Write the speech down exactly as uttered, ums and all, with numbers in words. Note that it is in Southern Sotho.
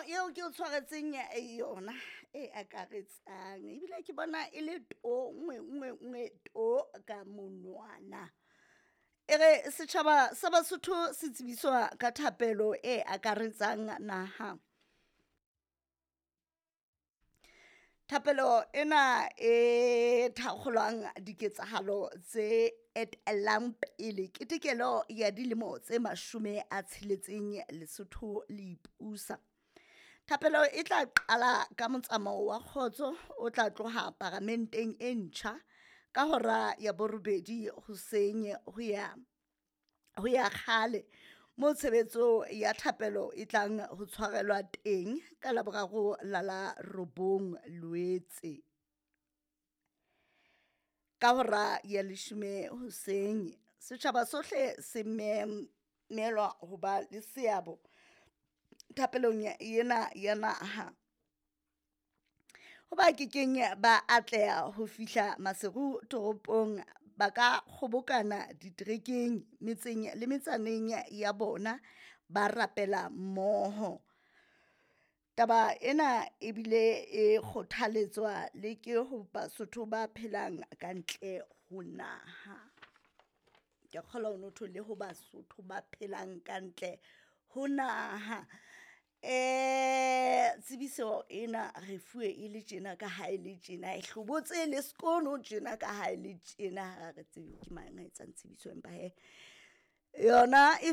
eo ke o tshwaretseng yona e akaretsang ebile ke bona e le to nngwe nngwe nngwe to ka monwana. E re setjhaba sa Basotho se tsebiswa ka thapelo e akaretsang naha. Thapelo ena e thakgolwang diketsahalo tse etellang pele ketekelo ya dilemo tse mashome a tsheletseng Lesotho le ipusa. Thapelo e tla qala ka motsamao wa kgotso o tla tloha paramenteng e ntjha ka hora ya borobedi hoseng ho ya ho ya kgale moo tshebetso ya thapelo e tlang ho tshwarelwa teng ka Laboraro la la robong Loetse ka hora ya leshome hoseng. Setjhaba sohle se memelwa ho ba le seabo thapelong ena ya naha. Ho ba kekeng ba atleha ho fihla Maseru toropong, ba ka kgobokana diterekeng metseng le metsaneng ya bona, ba rapela mmoho. Taba ena ebile e kgothaletswa le ke ho Basotho ba phelang ka ntle ho naha. Ke a kgolwa ho no thwe le ho Basotho ba phelang ka ntle ho naha. Tsebiso ena re fuwe e le tjena ka ha e le tjena, e hlobotse le sekono tjena ka ha e le tjena. Ha re tsebe ke mang a etsang tsebiso, empa hee yona e .